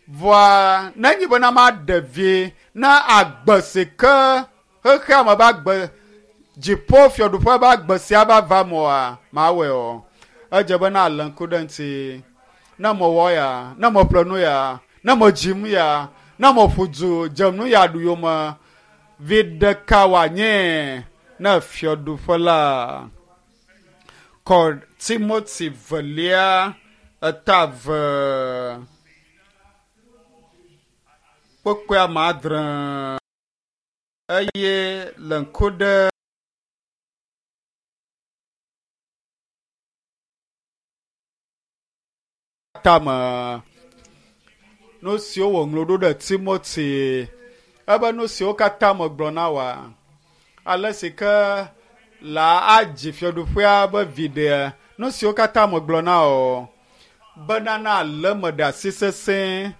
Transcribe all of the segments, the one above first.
Vɔa nenye bena maɖe vi na agbe si ke xexea me be agbe dziƒo fiaɖuƒe be agbe sia va va me oa, mawɔe o. Edze bena alé ŋku ɖe eŋuti. Ne mewɔ ya, ne meƒle nu ya, ne medzim ya, ne meƒu du dze nu ya ɖu yome, vi ɖeka wòanye ne fiaɖuƒe la. Kɔ Timoti velia eta ve kpekpe ame adre eye le ŋku ɖe tame nu siwo wòŋlɔ ɖo ɖe Timoti ebe nu siwo katã megblɔ na wòa ale si ke la adzi fiaɖuƒea be viɖe nu siwo katã megblɔ na wò bena na alé me ɖe asi sesẽ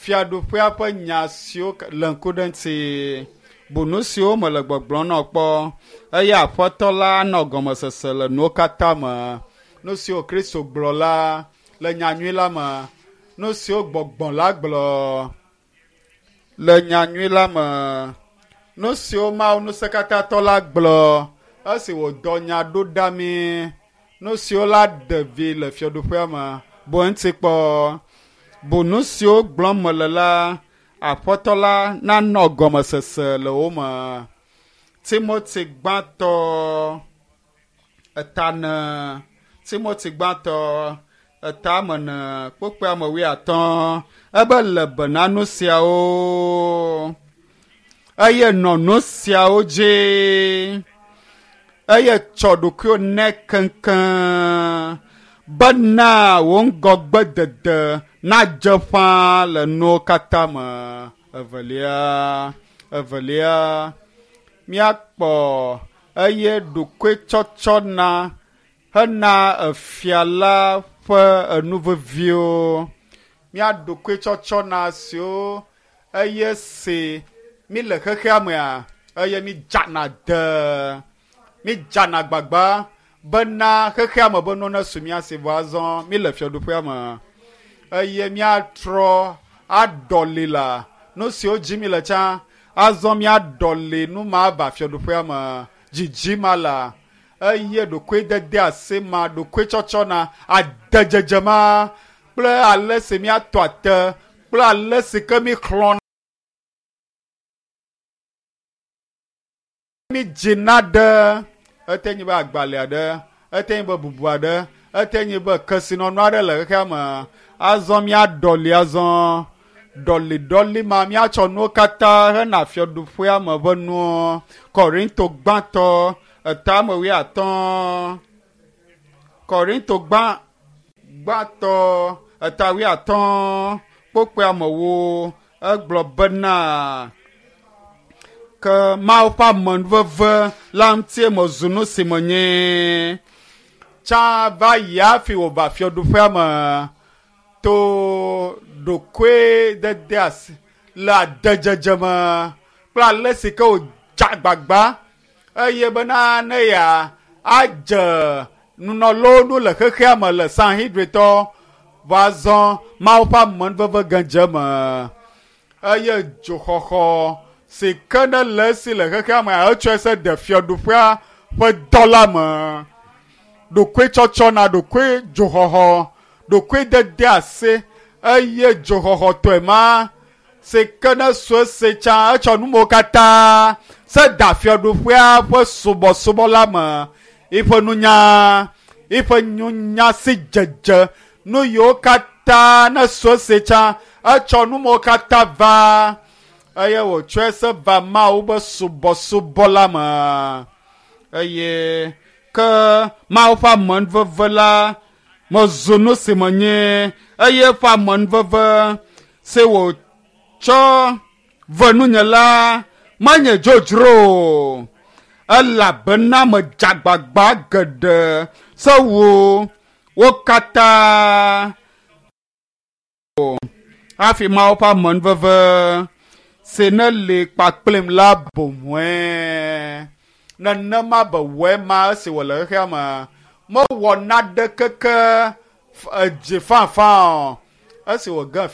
fiaɖuƒea ƒe nya siwo le ŋku ɖe ŋuti bu nu siwo mele gbɔgblɔm na wò kpɔ eye aƒetɔ la anɔ gɔmesese le nuwo katã me nu siwo Kristo gblɔ la le nyanyui la me nu siwo gbɔgbɔ la gblɔ le nyanyui la me nu siwo Mawu ŋusẽkatãtɔ la gblɔ esi wòdɔ nya ɖo ɖa mí nu siwo la ɖe vi le fiaɖuƒea me bu eŋuti kpɔ bu nu siwo gblɔm mele la aƒetɔ la nanɔ gɔmesese le wo me Timoti gbãtɔ eta ne Timoti gbãtɔ eta ame ene kpukpui ame wuiatɔ̃ ebe le be na nu siawo eye nɔ nu siawo dzi eye tsɔ ɖokuiwò nɛ keŋkeŋ bena wò ŋgɔgbedede nadze ƒãa le nuwo katã me. Evelia, evelia, míakpɔ eye ɖokuitsɔtsɔ na hena efia la ƒe enu veviwo. Mía ɖokuitsɔtsɔ na siwo eye si mi le xexea mea eye mi dzana de mi dzana gbagba bena xexea me be nuwo nesu mía si vɔ azɔ mi le fiaɖuƒea me eye míatrɔ aɖɔli la nu siwo dzi mi le tsã azɔ míaɖɔli nu ma va fiaɖuƒea me dzidzi ma la eye ɖokuidede asi ma ɖokuitsɔtsɔ na adedzedze ma kple ale si míatɔ ate kple ale si ke mi xlɔ̃ mi dzina ɖe ete nyi be agbalẽ aɖe ete nyi be bubu aɖe ete nyi be kesinɔnu aɖe le xexea me azɔ míaɖɔli azɔ ɖɔliɖɔli ma míatsɔ nuwo katã hena fiaɖuƒea me ƒe nuwo Korinto gbãtɔ eta ame wuiatɔ̃ Korinto gbã gbãtɔ eta wuiatɔ̃ kpokpɔe amewo egblɔ bena ke Mawu ƒe amenuveve la ŋutie mezu nu si menye tsã va yi hafi wòva fiaɖuƒea me to ɖokuidede asi le adedzedze me kple ale si ke wòdze agbagba eye bena ne ya adze nunɔlawo nu le xexea me le Sanhedritɔ va zɔ Mawu ƒe amenuveve gãdze me eye dzoxɔxɔ si ke ne le esi le xexea me etsɔe se de fiaɖuƒea ƒe dɔ la me ɖokuitsɔtsɔ na ɖokui dzoxɔxɔ ɖokuidede asi eye dzoxɔxɔtɔe ma si ke ne su esi tsã etsɔ numewo katã se da fiaɖuƒea ƒe subɔsubɔ la me eƒe nunya eƒe nunya si dzedze nu yiwo katã ne su esi tsã etsɔ numewo katã va eye wòtsɔe se va Mawu be subɔsubɔ la me eye ke Mawu ƒe amenuveve la mezu nu si menye eye eƒe amenuveve si wòtsɔ ve nunye la menye dzodzro o elabena medze agbagba geɖe se wu wo katã hafi Mawu ƒe amenuveve si ne li kpakplim la boŋue nenema be wɔe ma esi wòle xexea me mewɔ naɖe keke edzi fafã o esi wòge.